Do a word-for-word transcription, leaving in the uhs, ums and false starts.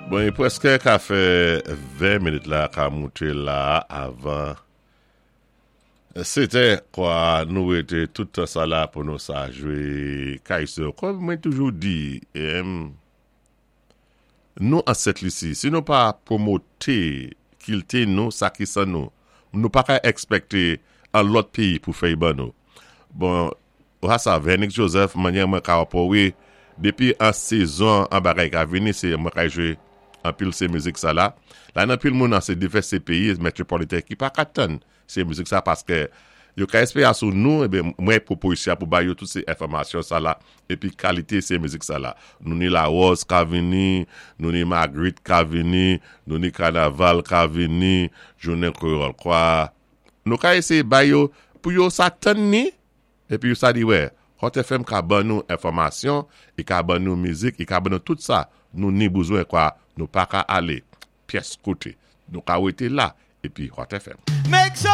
Bon, i pwèskè ka fè ven minit la ka mouté la avan sétè kwa. Nou wété tout tan sa la pou nou sa jwé Kaiso. Kòm mwen toujou di, em, nou an Sent Lisi, si nou pa pwomoté kilti nou, sa ki san nou, nou pa ka èkspèkté an lòt péyi pou fè ban nou. Bon, ou sa Vernick Joseph, manyè mwen ka wapò dépi an sézon an bagay ka vini, sé mwen ka jwé anpil sé mizik sa la. La nan pil moun an sé divès sé péyi métwopoliten ki pa ka tann sé mizik sa paské yo ka èspéwé sou nou, ébé mwen pwopozisyon pou ba yo tout sé enfòmasyon sa la épi kalité sé mizik sa la. Nou ni La Rose ka vini, nou ni Magritte ka vini, nou ni Kanaval ka vini, Jounen Kwéyòl kwa. Nou ka éséyé ba yo pou yo sa tann ni épi yo sa di wè, Hot F M ka ban nou enfòmasyon, i ka ban nou mizik, i ka ban nou tout sa nou ni bezwen kwa, nou pa ka alé pyès koté. Nou ka wété la épi Hot F M. Make some